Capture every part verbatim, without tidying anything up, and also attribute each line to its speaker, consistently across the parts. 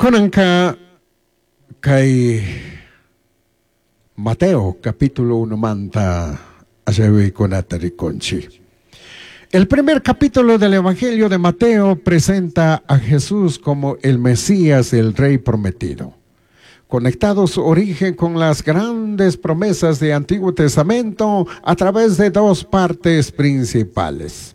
Speaker 1: Kunanka kay Mateo capítulo uno manta kunata rikunchik. El primer capítulo del Evangelio de Mateo presenta a Jesús como el Mesías, el Rey prometido, conectado su origen con las grandes promesas del Antiguo Testamento a través de dos partes principales.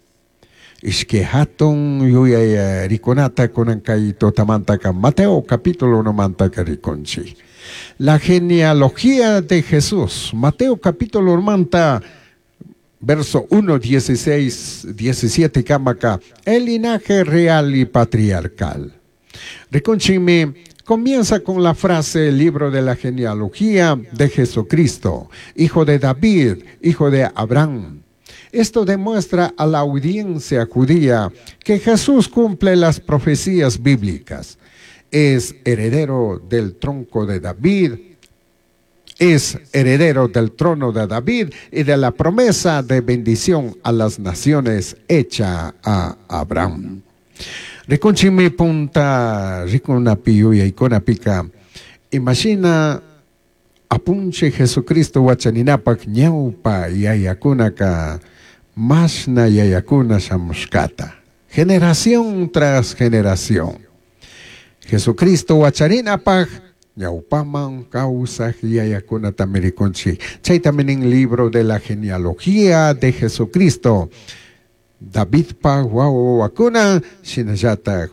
Speaker 1: Ishki hatun yuyay rikunata kunan kay tutamantaka Mateo capítulo uno mantaka rikunchik. La genealogía de Jesús. Mateo capítulo uno manta, verso uno, dieciséis, diecisiete, kamaka, el linaje real y patriarcal. Rikunchikmi comienza con la frase el libro de la genealogía de Jesucristo, hijo de David, hijo de Abraham. Esto demuestra a la audiencia judía que Jesús cumple las profecías bíblicas. Es heredero del tronco de David, es heredero del trono de David y de la promesa de bendición a las naciones hecha a Abraham. Rikunchikmi punta rikunapi yuyaykunapika imashina apunchik Jesucristo wacharinapak ñawpa yayakunaka mashna yayakuna shamushkata, generación tras generación. Jesucristo wacharinapak ñawpaman kawsaj yayakunatami rikunchik. Chaytami nin libro de la genealogía de Jesucristo. Davidpa wawa wawakuna, shinallatak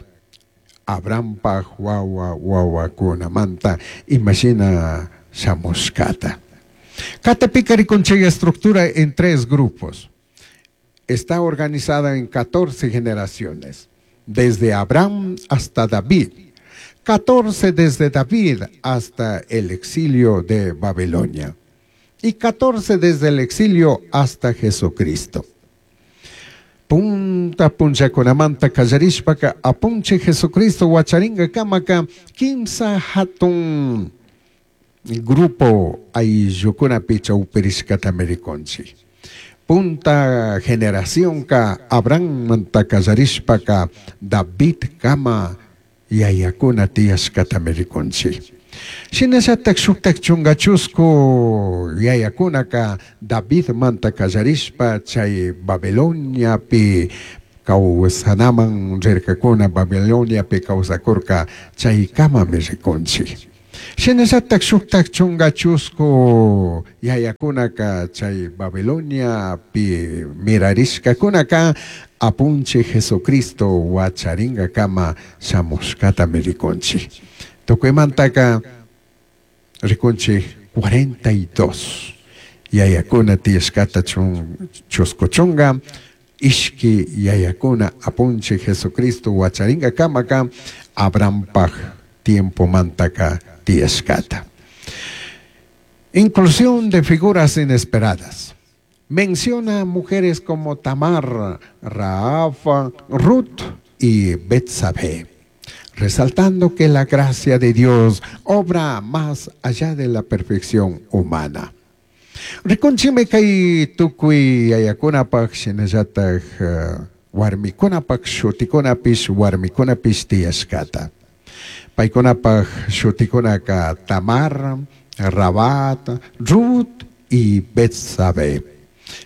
Speaker 1: Abrahampa wawa wawakunamanta imashina shamushkata. Katipika rikunchik estructura en tres grupos. Está organizada en catorce generaciones, desde Abraham hasta David. catorce desde David hasta el exilio de Babilonia. Y catorce desde el exilio hasta Jesucristo. Punta punchakunamanta kallarishpaka apunchik Jesucristo wacharinga kamaka kimsa hatun grupo ayllukunapi chawpirishkatami rikunchik. Punta generación ka Abrahammanta kallarishpaka David kama yayakuna tiyashkatami rikunchik. Shinallatak shuktak chunga chusku yayakunaka Davidmanta kallarishpa chay Babiloniapi kawsanaman rirkakuna, Babiloniapi kawsakurka chaykamami rikunchik. Shinallatak shuktak chunga chusku yayakunaka chay Babiloniapi mirarishkakunaka apunchik Jesucristo wacharingakama shamushkatami rikunchik. Tukuymantaka rikunchik cuarenta y dos yayakuna tiyashkata chun, chusku chunga ishki yayakuna apunchik Jesucristo wacharingakamaka Abrahampaj tiempo mantaka tiyashkata. Inclusión de figuras inesperadas. Menciona a mujeres como Tamar, Rahab, Ruth y Betsabé, resaltando que la gracia de Dios obra más allá de la perfección humana. Rikunchikmi kay tukuy yayakunapaj shinallataj, eh, warmikunapaj shutikunapish warmikunapish tiyashkata. Paykunapaj shutikunaka Tamar, Rabat, Ruth y Betsabé.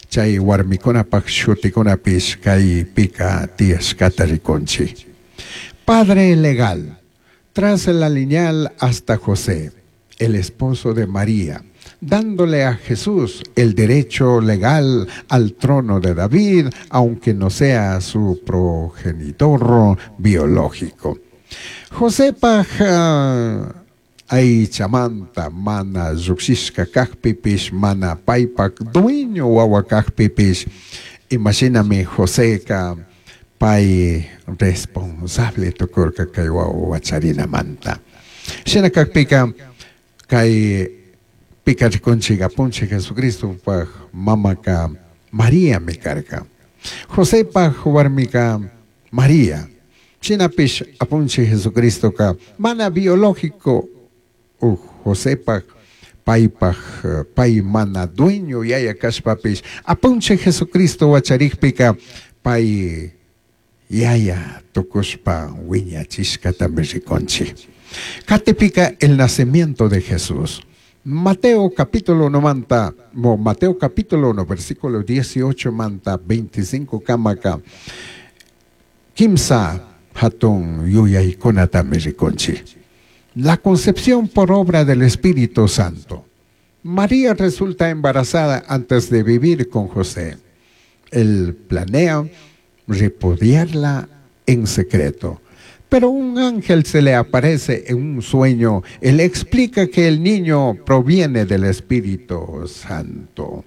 Speaker 1: Chay warmikunapaj shutikunapish kay pika tiyashkata rikunchik. Padre legal, tras la lineal hasta José, el esposo de María, dándole a Jesús el derecho legal al trono de David, aunque no sea su progenitor biológico. José paja aychamanta mana llukshishka kajpipish, mana paypak dueño wawa kajpipish. Imagíname Joseca pay responsable tukurka kay wawa wacharinamanta. Shina kajpika kay pika rikunchik apunchik Jesucristo paj mamaka María mi karka. José paj warmika María. Shinapish apunchik Jesucristo ka mana biológico uh, José paj paypaj, pay mana dueño yaya kashpapish apunchik Jesucristo wacharikpika pay yaya tukushpa wiñachishkatami rikunchik. Catipika el nacimiento de Jesús. Mateo capítulo uno manta, Mateo capítulo uno, versículo dieciocho manta, veinticinco kamaka, kimsa hatun yuyaykunatami rikunchik. La concepción por obra del Espíritu Santo. María resulta embarazada antes de vivir con José. Él planea repudiarla en secreto. Pero un ángel se le aparece en un sueño. Él explica que el niño proviene del Espíritu Santo.